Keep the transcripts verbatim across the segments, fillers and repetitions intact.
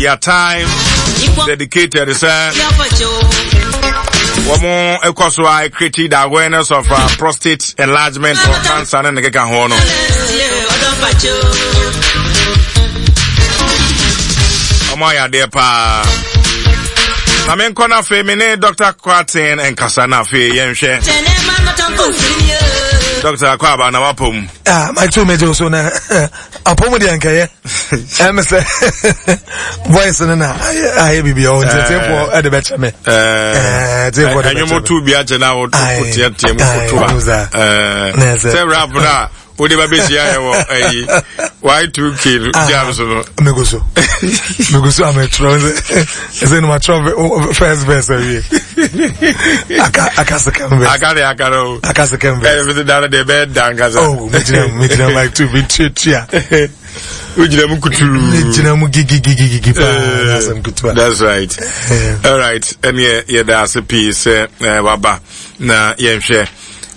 Their time dedicated sɛ wɔn ɛkɔ so a create the awareness of uh, prostate enlargement or cancer ne ne keka ho no. Wɔn ayɛ adeɛ paa. Na menkɔ no afei me ne Doctor Kwaten nkasa na afei yɛnhwɛ. Doctor Akwaaba, na wapɔ mu? Ah, Mike two mejo so na apɔ mu deɛ nkɛyɛ ɛmɛ sɛ voice no na ayɛ biribi ɔwɔ nti tiefoɔ ɛde bɛkyɛ me. Tiefoɔ de bɛkyɛ me. Ɛnwom tu bi akyɛ na woteatea mu koto a sɛ rap no a wode ba bɛhyia yɛ wɔ ayi Y two K jam so no. Megu so megu so a metwerɛ sɛ ɛsɛ no matwerɛ first verse awie, aka aka second verse. Aka de aka no. Aka second verse. Ɛyɛ da no deɛ ɛbɛyɛ da nkasa. Oh, megyina mu, megyina Mike two metuatua. Wogyina mu kuturu. Megyina mu gigigigigi paa, asɛm ketewa. That's right. All right, ɛneɛ yɛda ase pii sɛ waba na yɛnhwɛ.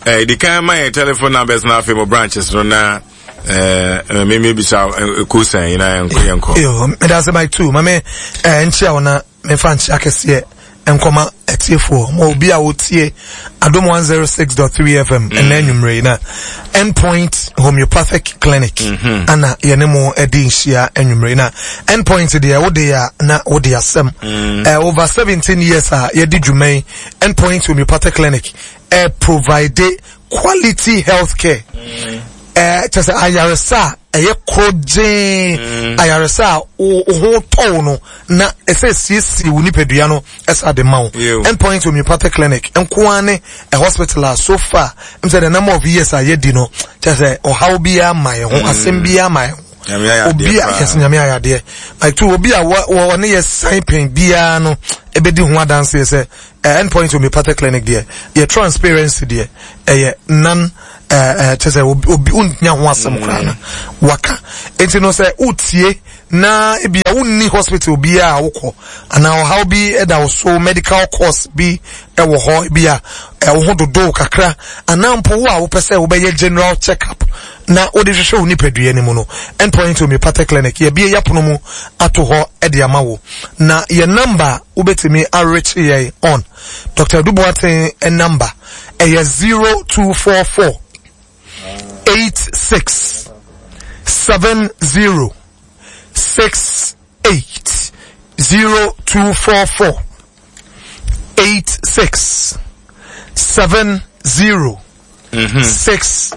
Ɛdi kan, ma yɛ telephone numbers na afei mo branches no na mímí bisa kusan yi na yɛnkɔ yɛnkɔ. Yo, meda ase Mike two. Mame nkyia wo na mefa nkyia kɛseɛ nkɔma atiefoɔ ma obi a wotie Adom one oh six point three F M ɛnɛ anwummerɛ yi na Endpoint Homeopathic Clinic mm-hmm. ana yɛne mo adi nhyia anwummerɛ yi. Na Endpoint deɛ, wode a na wode asɛm mm. uh, over seventeen years a yɛdi dwuma yi, Endpoint Homeopathic Clinic uh, provide quality health care, mm. kyɛ sɛ ayaresa a ɛyɛ korɔgyee, mm. ayaresa a wo ho tɔw no na ɛsɛ siesie wo nipadua no ɛsa de ma wo. Endpoint Homeopathic Clinic nkoa ne a hospital a so far m sɛ the number of years a yɛdi no, kyɛ sɛ ɔhaw biara ma yɛn ho, mm. asɛm biara ma yɛn ho. Obi a yɛsɛ Nyame ayɛ adeɛ like two, obi a wɔne yɛ sign pɛn biara no ebedi ho adanseɛ sɛ Endpoint Homeopathic Clinic deɛ, yɛ transparency deɛ ɛyɛ nan ɛɛ kyɛ sɛ obi wonya ho asɛm koraa no waka. Nti no sɛ wotie na ebi a wonni hospital biara a wokɔ anaa ɔhaw bi ɛda wo so, medical course bi ɛwɔ hɔ, ebi a ɛwo ho dodo kakra, anaa mpo wo a wopɛ sɛ wobɛyɛ general check up na wode hwehwɛ wo nipadua no mu no, Endpoint Homeopathic Clinic yɛbie yɛpono mu ato hɔ ɛde ama wo. Na yɛ number wobɛtumi arekye yɛn on, Doctor Duboaten number ɛyɛ zero two four four eight six seven zero six eight, zero two four four eight six seven zero six